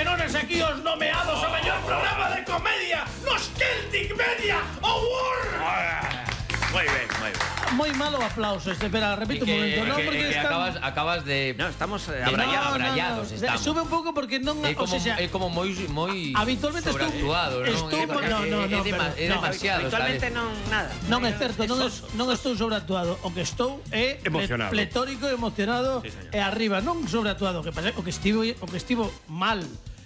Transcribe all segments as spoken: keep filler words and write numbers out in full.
que non es aquí os nomeados ao mellor programa de comedia nos Celtic Media Awards. Moi ben, moi ben. Moi malo aplauso este, espera, repito un momento, non porque que están... acabas, acabas de... No, estamos eh, de- abrallados. no, abrallados no, no. estamos. Sube un pouco porque non, É o como, sea, é como moi moi habitualmente estou- sobreactuado, non? estou- É porque no, no, no, é, dema- pero- é no. demasiado, Actualmente sabes? non nada. non é certo, non, es- non estou sobreactuado. O que estou é Emocionado. pletórico e emocionado Sí, señor. e arriba, non sobreactuado, que pasa, o que estivo o que estivo mal.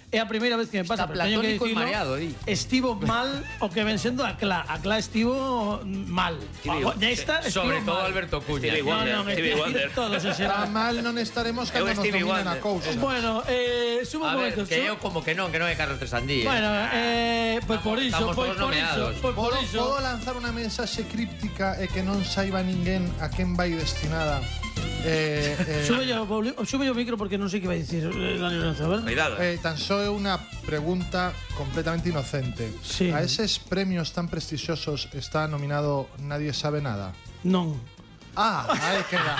É a primeira vez que me pasa, Está pero teño que platónico e dicilo. mareado, di. Estivo mal o que ven sendo a Cla. A Cla estivo mal. Stevie- Nesta estivo Sobre todo mal. Alberto Cuña. Stevie No, Wonder, non, Stevie Stevie Wonder. todos en Está xeral. mal non estaremos cando Eu nos Stevie dominen a Wonder. cousa. Bueno, eh, subo A un ver, momento. que su- eu como que non, que non é Carlos Tresandí. Bueno, eh, pois por iso, estamos pois todos por iso, nomeados. pois por Podo, iso. podo lanzar unha mensaxe críptica e que non saiba ninguén a quen vai destinada. Eh, eh, Sube yo, sube yo o micro porque non sei que vai dicir eh, Dani Lorenzo, a ver? Cuidado. eh, tan só é unha pregunta completamente inocente. Sí. A eses premios tan prestixiosos está nominado Nadie sabe nada. Non. Ah, aí queda.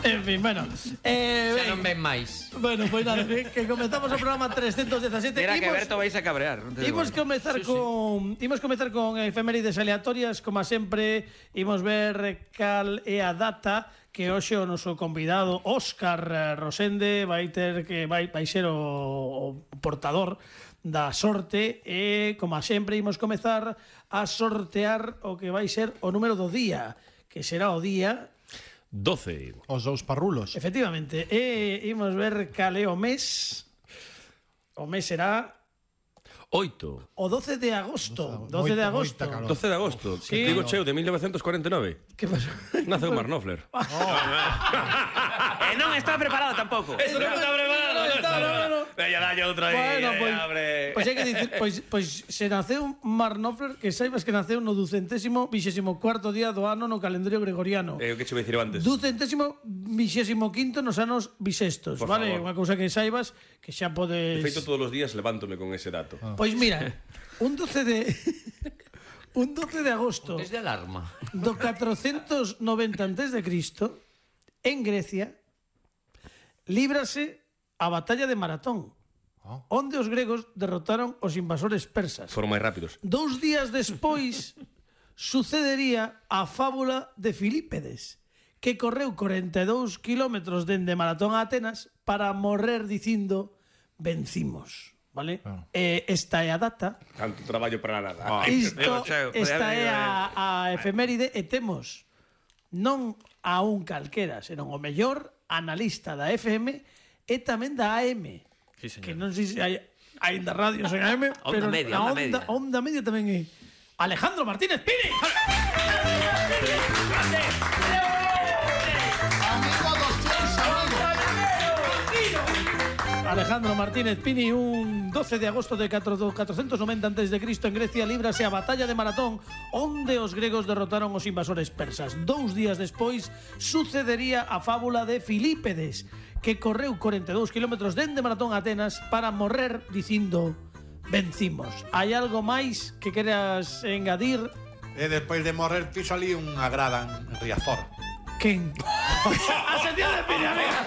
En fin, bueno. Eh, Xa non ven máis. Bueno, pois nada, que, que comezamos o programa trescentos dezasete. Mira que Imos- Berto vais a cabrear. non te digo Imos nada. comezar con imos comezar con efemérides aleatorias, como sempre, imos ver cal é a data que hoxe o noso convidado Óscar eh, Rosende vai ter que vai vai ser o, o portador da sorte e, como sempre, imos comezar a sortear o que vai ser o número do día, que será o día, doce. Os dous parrulos. efectivamente, e imos ver cal é o mes. O mes será oito. o doce de agosto. Moita, doce de moita agosto. calor. doce de agosto. Sí. Que digo cheo de mil novecientos cuarenta e nove. Que pasou? Nace o Marnofler. Eh, non está preparado tampouco. Eso non está preparado. No, no, no, no. Veña, dalle outra aí. Bueno, eh, pois, abre. pois hai que dicir, pois, pois se naceu Marnofler, que saibas que naceu no ducentésimo vixésimo cuarto día do ano no calendario gregoriano. Eh, o que che vou dicir antes. Ducentésimo vixésimo quinto nos anos bisestos, Por vale? favor. Unha cousa que saibas que xa De podes... feito, todos os días levántome con ese dato. Pois mira, un doce de un doce de agosto Es de alarma. do catrocentos noventa antes de Cristo, en Grecia, líbrase a batalla de Maratón, Oh. onde os gregos derrotaron os invasores persas. Foron máis rápidos. Dous días despois sucedería a fábula de Filípedes, que correu corenta e dous kilómetros dende Maratón a Atenas para morrer dicindo vencimos, vale? Ah. Eh, esta é a data. Tanto traballo para nada. Ai, Isto, Dios, cheo, esta podía é haber- a, a efeméride e temos non a un calquera, senón o mellor analista da F M e tamén da A M. Sí, señor. Que non sei se hai aínda radios en A M, Onda pero media, a onda media. onda media tamén é Alejandro Martínez Pini. Amigo dos teus amigos. Alejandro Martínez Pini, un doce de agosto de catrocentos noventa antes de Cristo en Grecia líbrase a batalla de Maratón, onde os gregos derrotaron os invasores persas. Dous días despois sucedería a fábula de Filípedes, que correu corenta e dous kilómetros dende Maratón a Atenas para morrer dicindo vencimos. Hai algo máis que queras engadir? E despois de morrer piso ali unha grada en Riazor. Quen? A sección de Pini, amiga.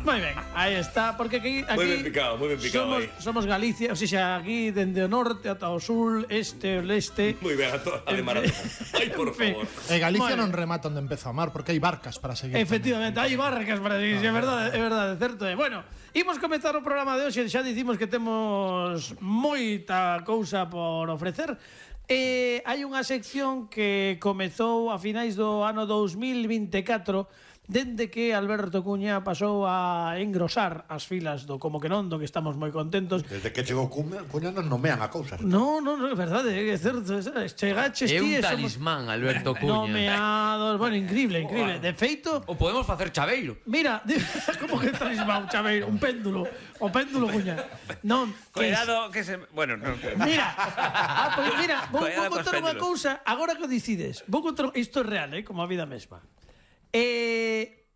Moi ben, aí está, porque aquí, aquí Moi ben picado, moi ben picado somos, aí. somos Galicia, o sea, aquí dende o norte ata o sur, este, o leste. Moi ben, a toda a de Maratón. Ai, por En fin. favor. E Galicia Bueno. non remata onde empeza o mar porque hai barcas para seguir. Efectivamente, hai barcas para seguir, é verdade, é verdade, certo é. Bueno, imos comezar o programa de hoxe, xa dicimos que temos moita cousa por ofrecer. E hai unha sección que comezou a finais do ano dous mil vinte e catro, dende que Alberto Cuña pasou a engrosar as filas do Como que non, do que estamos moi contentos. Desde que chegou Cuña, Cuña nos nomean a cousas. No, no, no, é verdade, é certo. Chegaches É ti un e somos talismán, Alberto Cuña. nomeados. Bueno, increíble, increíble. De feito, O podemos facer chaveiro. mira, como que talismán, chaveiro, un péndulo, o péndulo Cuña. Non, que es- Cuidado que se... Bueno, non. Mira, ah, pues mira, vou, Cuidado vou cos contar unha péndulos. cousa, agora que o decides. Vou contar, isto é real, eh, como a vida mesma. Eh,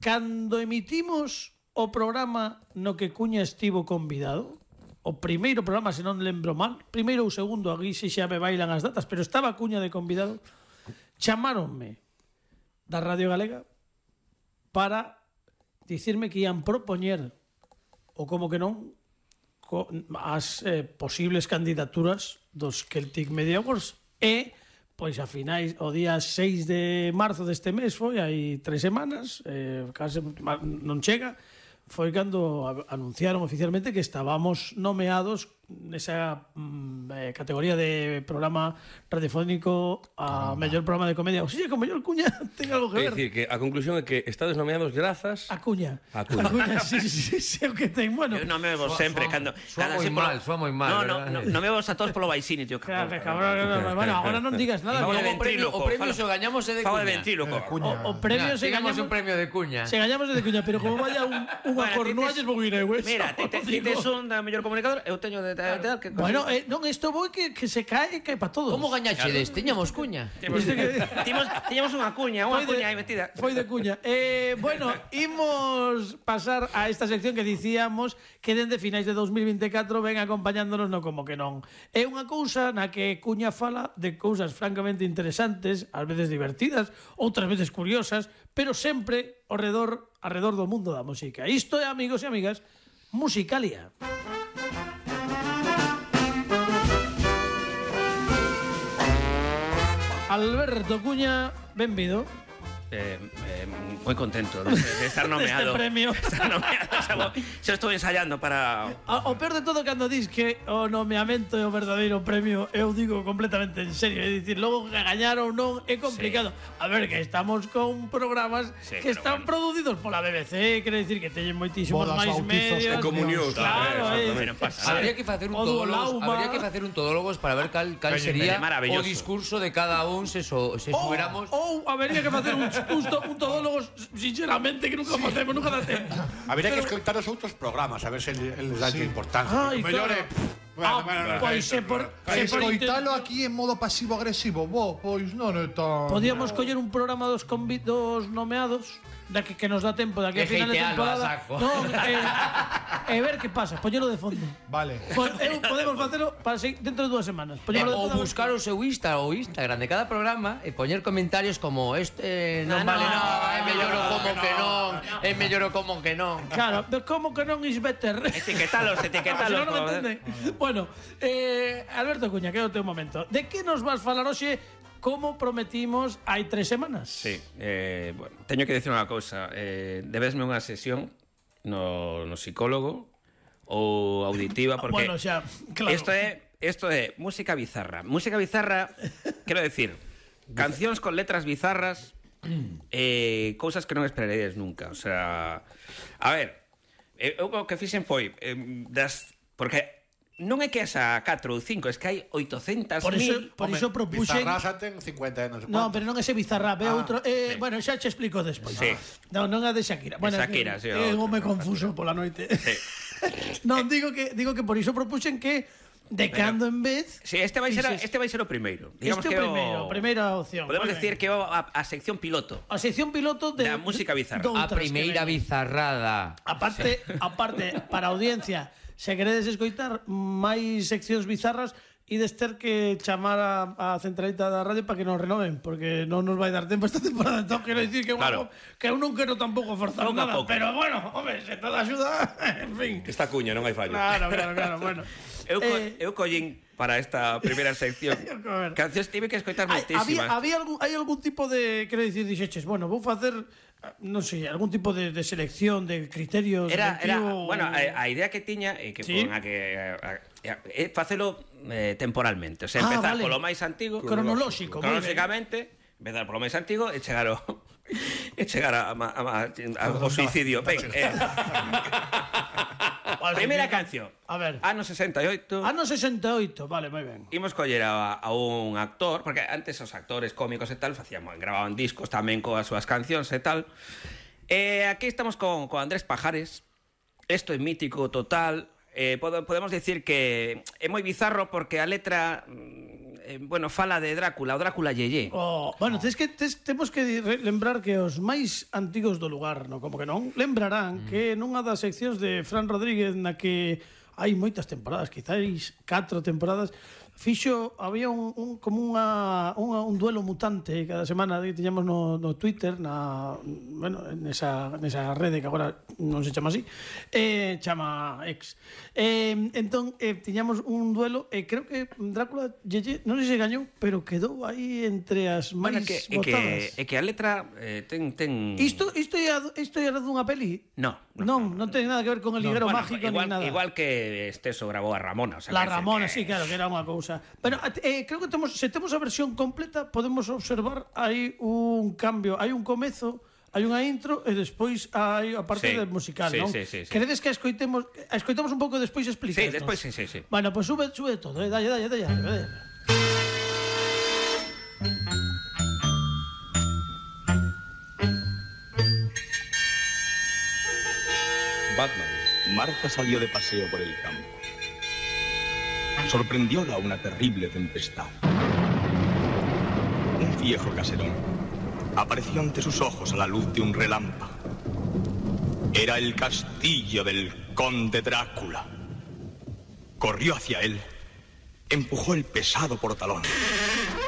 cando emitimos o programa no que Cuña estivo convidado, o primeiro programa, se non lembro mal, primeiro ou segundo, aquí se xa me bailan as datas, pero estaba Cuña de convidado, chamáronme da Radio Galega para dicirme que ian propoñer ou como que non co, as eh, posibles candidaturas dos Celtic Media Awards e pois a finais o día seis de marzo deste mes foi hai tres semanas, eh, case non chega, foi cando anunciaron oficialmente que estábamos nomeados nesa mm, eh, categoría de programa radiofónico a mellor programa de comedia. O sea, con mellor cuña ten algo que É ver. dicir, que a conclusión é que estades nomeados grazas... A cuña. A cuña. A cuña, sí, sí, sí, o que ten. Bueno, Eu non me vos sempre cando Soa cando moi así polo- mal, soa moi mal, No, no, verdad? no, non me vos a todos polo baixini, tío. claro, cabrón, no, no, bueno, agora non digas nada. Fago de porque O premio, ventríloco, o premio fala- se o gañamos é de Fago de cuña. ventríloco. Cuña. O, o premio Mira, se digamos gañamos un premio de cuña. Se gañamos de cuña, pero como vaya un, unha Bueno, cornualles ti tes- vou ir eu, eh, Mira, só ti te- os ti digo. tes un da mellor comunicador, eu teño de tal, tal, que... Bueno, eh, non, isto vou que, que se cae, cae para todos. Como gañachedes? Tiñamos cuña. Temos, timos, tiñamos unha cuña, unha Foi de- cuña aí metida. Foi de cuña. Eh, bueno, imos pasar a esta sección que dicíamos que dende finais de dos mil vinte e catro ven acompañándonos no como que non. É unha cousa na que Cuña fala de cousas francamente interesantes, ás veces divertidas, outras veces curiosas, pero sempre ao redor, alrededor do mundo da música. Isto é, amigos e amigas, Musicalia. Alberto Cuña, benvido. Eh, eh, moi contento de, de estar nomeado. Deste premio. Estar nomeado. O sea, bo, xa estou ensayando para... O, o peor de todo cando dis que o nomeamento é o verdadeiro premio, eu digo completamente en serio, é dicir, logo que gañar ou non é complicado. Sí. A ver, que estamos con programas Sí, que pero están bueno. producidos pola B B C, quere dicir que teñen moitísimos Bodas, máis bautizos, medios. e comunións, Claro, eh, eh, exactamente, non pasa nada. Habría que facer un O do todólogos, Lauma. habría que facer un todólogos para ver cal, cal Peña, sería peña, maravilloso. o discurso de cada un se so, se Ou, fuéramos. ou habería que facer un, un, to- un todólogo sinceramente que nunca facemos, nunca dá tempo. Habría que Pero- escoitar os outros programas, a ver se eles dan importancia. Ai, O mellor claro. é... pff, Ah, bueno, bueno, no, pois isto, se por, pero- se por Escoitalo intent- aquí en modo pasivo-agresivo, bo, pois non é tan... Podíamos coller un programa dos convi- dos nomeados da que, que nos dá tempo de aquí a E final de hatealo a temporada. saco. Non, e, e ver que pasa, poñelo de fondo. Vale. Po- eu, podemos facelo para se, dentro de dúas semanas. Eh, Poñelo de ou fondo. buscar o seu Insta ou Instagram de cada programa e poñer comentarios como este non No, vale no, nada, é no, mellor o no, como que non, é mellor o como que non. Claro, pero como que non is better? Etiquetalos, Ah, etiquetalos. se non, non me joder. entende. Bueno, eh, Alberto Cuña, que é o teu momento. De que nos vas falar hoxe como prometimos hai tres semanas? Sí, eh, bueno, teño que decir unha cousa. Eh, debesme unha sesión no, no psicólogo ou auditiva, porque Bueno, xa, claro. isto é isto é música bizarra. Música bizarra, quero decir, cancións con letras bizarras, eh, cousas que non esperaríades nunca. O sea, a ver, eu o que fixen foi eh, das porque non é que esa catro ou cinco, es que hai oitocentas Por iso, mil. por iso propuxen... Bizarrasa ten cincuenta anos. No, pero non ese Bizarrap, é Ah, outro... Eh, sí. Bueno, xa che explico despois. Sí. Non, non a de Shakira. Bueno, Shakira, que, sí, é outro. un home confuso pola noite. Sí. Non, digo que digo que por iso propuxen que de Pero- cando en vez... Sí, este vai ser Dices- este vai ser o primeiro. Este é o primeiro, primeira opción. Podemos Moi decir ben. que é a, a sección piloto. A sección piloto de Da música bizarra. doutras A que primeira ven. bizarrada. Aparte, aparte para a audiencia, se queredes escoitar máis seccións bizarras ides ter que chamar a, a centralita da radio para que nos renoven, porque non nos vai dar tempo esta temporada. Entón, quero dicir que, Claro. bueno, que eu non quero tampouco forzar Pouco a nada, pouco. pero bueno, home, se toda axuda, en fin. Esta cuña, non hai fallo. Claro, claro, claro, bueno. Eu, co, Eh, eu collín para esta primeira sección. A ver. Cancións tive que escoitar Hai, había, moitísimas. había algún, hai algún tipo de, quero dicir, dixeches, bueno, vou facer, non sei, algún tipo de, de selección, de criterios, Era, era, selectivo, bueno, a, a idea que tiña é que Sí. con a que a, a, é facelo eh, temporalmente, o sea, Ah, empezar vale. polo máis antigo, Cronolóxico, moi ben. cronolóxicamente, empezar polo máis antigo e chegar ao e chegar a, a, a, a, ao suicidio. Ben, eh, primeira canción. A ver. Ano sesenta e oito. Ano sesenta e oito, vale, moi ben. Imos coller a, a un actor, porque antes os actores cómicos e tal facíamos, gravaban discos tamén coas súas cancións e tal. E aquí estamos con, con Andrés Pajares. Isto é mítico total. Eh, pode, podemos decir que é moi bizarro porque a letra eh, bueno, fala de Drácula, o Drácula Yeye. Oh, bueno, tes que tes, temos que re- lembrar que os máis antigos do lugar, no, como que non, lembrarán mm. que nunha das seccións de Fran Rodríguez na que hai moitas temporadas, quizáis catro temporadas, fixo, había un, un como unha, unha, un duelo mutante cada semana que tiñamos no, no Twitter, na, bueno, nesa, nesa rede que agora non se chama así, eh, chama X. Eh, entón, eh, tiñamos un duelo, e eh, creo que Drácula, Yeye, non sei se gañou, pero quedou aí entre as máis Bueno, que, votadas. É que, é que a letra eh, ten... ten... Isto, isto, é, isto é dunha peli? No, Non, non, non ten nada que ver con el liguero Bueno, mágico igual, ni nada. igual que este eso grabou a Ramona. O sea, La que Ramona, que... sí, claro, que era unha cousa. Pero eh, creo que temos, se temos a versión completa, podemos observar aí un cambio, hai un comezo, hai unha intro e despois hai a parte Sí, del musical, sí, non? sí, sí, sí. Queredes que a escoitemos, a escoitamos un pouco e despois explicamos? Sí, despois sí, sí, sí. Bueno, pues sube, sube todo, eh, dalle, dalle, dalle, dalle. Batman. Marta salió de paseo por el campo. Sorprendióla una terrible tempestad. Un viejo caserón apareció ante sus ojos a la luz de un relámpago. Era el castillo del conde Drácula. Corrió hacia él, empujó el pesado portalón,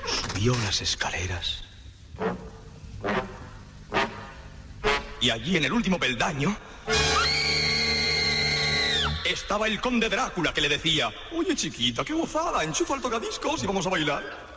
subió las escaleras. Y allí en el último peldaño estaba el conde Drácula, que le decía: oye, chiquita, qué gozada, enchufa el tocadiscos y vamos a bailar.